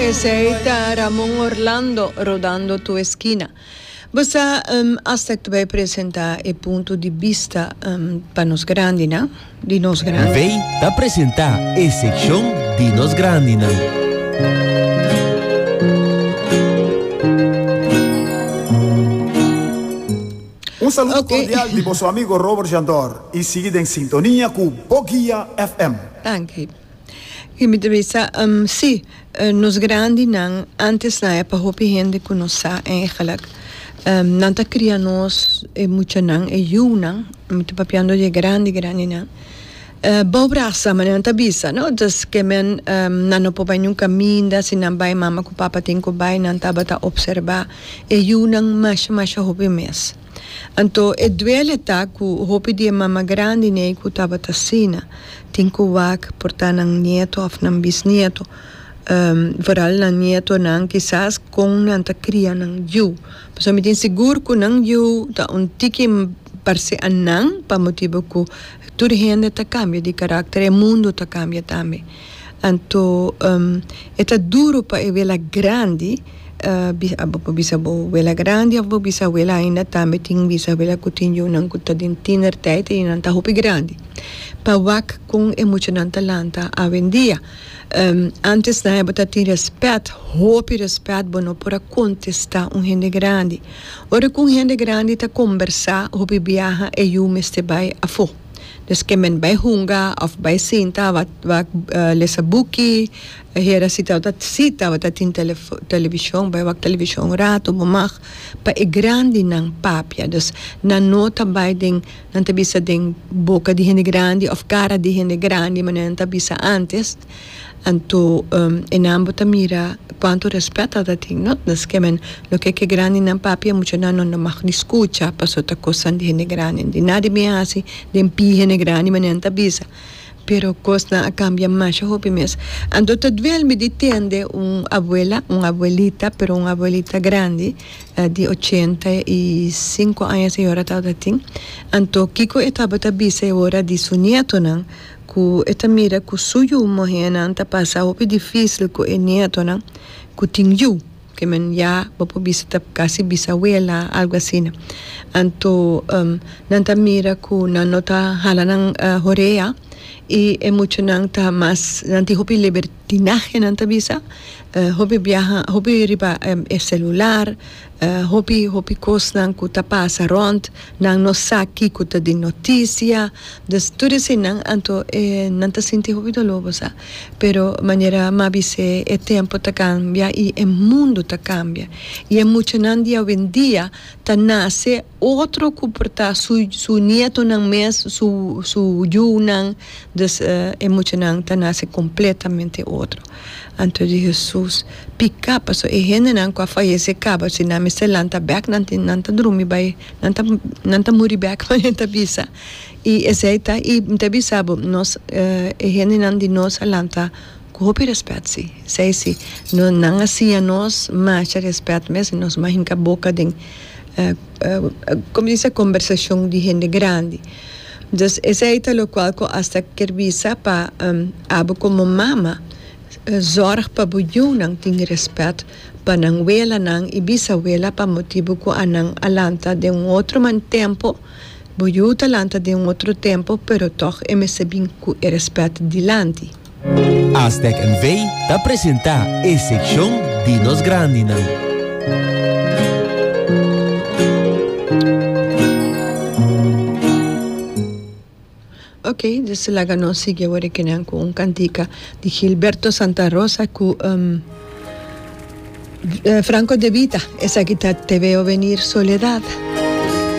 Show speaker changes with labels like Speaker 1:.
Speaker 1: Esey ta Ramon Orlando rodando tu esquina. Bo sa hasta cu ta bay presenta e punto di bista pa nos grandinan, di nos grandi.
Speaker 2: Vey ta presenta e seccion di nos grandinan.
Speaker 3: Un saludo cordial di boso amigo Robert Jandor y sigui den sintonia cu Boguia FM.
Speaker 1: Danki. Y mi ta bisa, si, nos grandinan antes nan e pa hopi hende cu no sa eigenlijk. Nan ta cria nos e muchanan, e yunan, mi ta papiando di e grandi grandinan, bou brasa manera nan ta bisa, no? Dus ke men nan no por bai niun caminda, si nan bai mama cu papa tin cu bai, nan tabata obserba e yunan masha masha hopi mes. Anto e duele ta cu hopi di e mama grandi nei cu tabata asina tin cu wak por ta nan nieto of nan bisnieto, vooral nan nietonan kisas con nan ta cria nan yu. Pasobra mi tin sigur cu nan yu ta un tiki parce a nan pa motibo cu tur hende ta cambia di caracter, e mundo ta cambia tambe. Anto e ta duro pa e wela grandi. Bo por bisa bo wela grandi of bo bisa wela ainda tambe tin bisa wela ku tin yunan ku ta den tienertijd i nan ta hopi grandi pa wak kon e muchanan ta lanta awendia. Antes nan bo ta tin respet, hopi respet bo no por a kontesta un hende grandi. Ora ku un hende grandi ta kombersa hopi biaha e yu mester bai afo. Des ke men bai hunga of bai sinta wak lesa buki. E hera si tabata si tabata tin televishon bai wak televishon un rato bo mag pa e grandinan papia dus nan no ta bai den nan ta bisa den boka di hende grandi of kara di hende grandi manera nan ta bisa antes anto e nan bo ta mira kuantu respet tabata tin no dus ke men loke ke grandinan papia muchanan no mag di skucha pasobra ta kosnan di hende grandi di nada bin hasi den pie hende grandi manera nan ta bisa. Pero kosnan a kambia masha hopi mes. Anto ta duel mi di tende un abuela, un abuelita, pero un abuelita grandi, di 85 aña señora tabata tin. Anto kiko e tabata bisa e ora di su nietonan, ku e ta mira ku su yu muhénan ta pasa hopi difísil ku e nietonan ku tin yu. Ke men ya bo por bisa ta kasi bisawela algo asina. Anto nan ta mira ku nan no ta hala nan horea i e muchanan ta mas nan tin hopi libertinahe nan ta bisa hopi biaha hopi riba e selular hopi hopi kosnan ku ta pasa rònt nan no sa kiko ta di notisia dus tur eseinan anto e nan ta sinti hopi doló bo sa. Pero manera m'a bis'é e tempo ta cambia y e mundo ta cambia. Y e muchanan di awendia ta nace otro cu por ta su su nietonan mes, su su yunan, dus e muchanan ta nace completamente otro. Anto di Hesus pica pasobra e hendenan cu a fayece caba si nan mester lanta bek nan tin nan ta drumi bay nan ta nan ta muri bek manera ta bisa. I esei ta, i mi ta bisa bo, nos, e hendenan di nos a lanta ku hopi rèspèt, sí, esei sí. No, nan a siña nos masha rèspèt mes, i nos no a hinka boka den, komo di kombersashon di hende grandi. Dus esei ta lokual ku asta kier bisa pa abo komo mama zòrg pa bo yunan tin rèspèt pa nan welanan i bisawela pa motibu ku anan a lanta den un otro man tempu. Bo yu ta lanta den un otro tempo pero tog e mester bin cu e respet dilanti.
Speaker 2: Aztec NV ta presenta e seccion di nos grandinan.
Speaker 1: Ok, dus laga nos sigui awor e kinan cu un cantica di Gilberto Santa Rosa cu Franco De Vita. Esaki ta Te veo venir soledad.